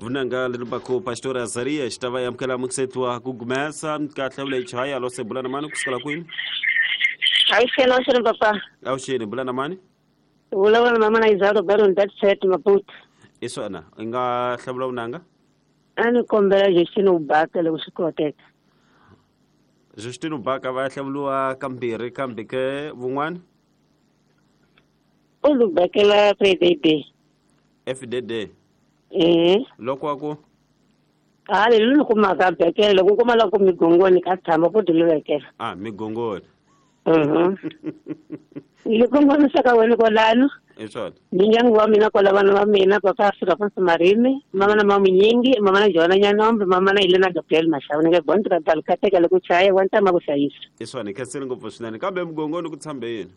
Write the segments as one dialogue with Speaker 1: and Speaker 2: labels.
Speaker 1: Vunanga leri baku Pastor Azaria xi ta va amukela mukisetiwa ku gumesa ka hlawula yi chaya lo se bula na mani kusukela kwini?
Speaker 2: Avuxeni, avuxeni papa.
Speaker 1: Avuxeni, bula na mani?
Speaker 2: Vulavula na mama na Izaro Baron that set Maputo.
Speaker 1: I swona, i nga hlawula vunanga?
Speaker 2: A ni kombela Justine Ubaka loko swi koteka.
Speaker 1: Justine Ubaka va ya hlawuriwa kambirhi kambe ke vun'wana?
Speaker 2: U lu bakela FDD.
Speaker 1: FDD.
Speaker 2: Eh.
Speaker 1: Loko wa ku?
Speaker 2: A le lu kumaka bekela loko kuma loko migongoni ka tshama ku diluvekela.
Speaker 1: Ah, migongoni.
Speaker 2: Mhm. Ni kongomisa ka wena kwalano.
Speaker 1: I swona.
Speaker 2: Ndyangu wa mina kwala vana va mina papa Afrika Fonso Marimi, mama na Mamunyingi, mama na Joana Nyanombe, mama na Elena Gabriel Mashawu. Ni nge bond ra bal kateka loko chaya wa ntama ku hlayisa.
Speaker 1: I swona, khensile ngopfu swinene. Kambe migongoni ku tshambe yini?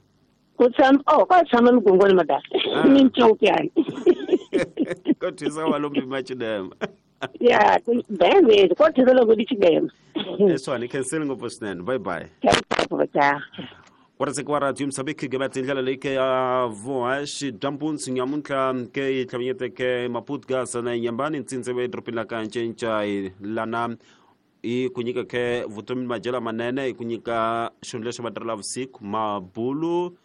Speaker 2: Ku tshama oh ka tshama migongoni madala.
Speaker 1: Ah.
Speaker 2: Ni ncopyani.
Speaker 1: Ko thisa wa lombi machinema.
Speaker 2: Ya, bebe, ko thisa loko di chidema.
Speaker 1: I swona, khensile ngopfu swinene. Bye bye.
Speaker 2: Cha.
Speaker 1: Waraseki wa radio Msabiki ke tindlela leyi ke ya vuhaxi bya mpunzi nyamuntlha ke yi tlhavanyeteke Maputo na Nyambani ntsindze edorobeni la ka Ncencai lana i ku nyika ke vutomi madyelo manene i ku nyika xihundla xa vatirhela vusiku mabulu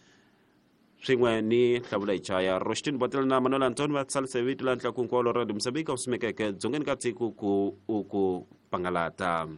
Speaker 1: swin'we ni hlawula hi chaya Roxtin Botela na Manuel Antoni va tsalise vito la ntlakunkwalo radio Msabika wu simekeke dzongeni ka tiko ku u ku pangalata.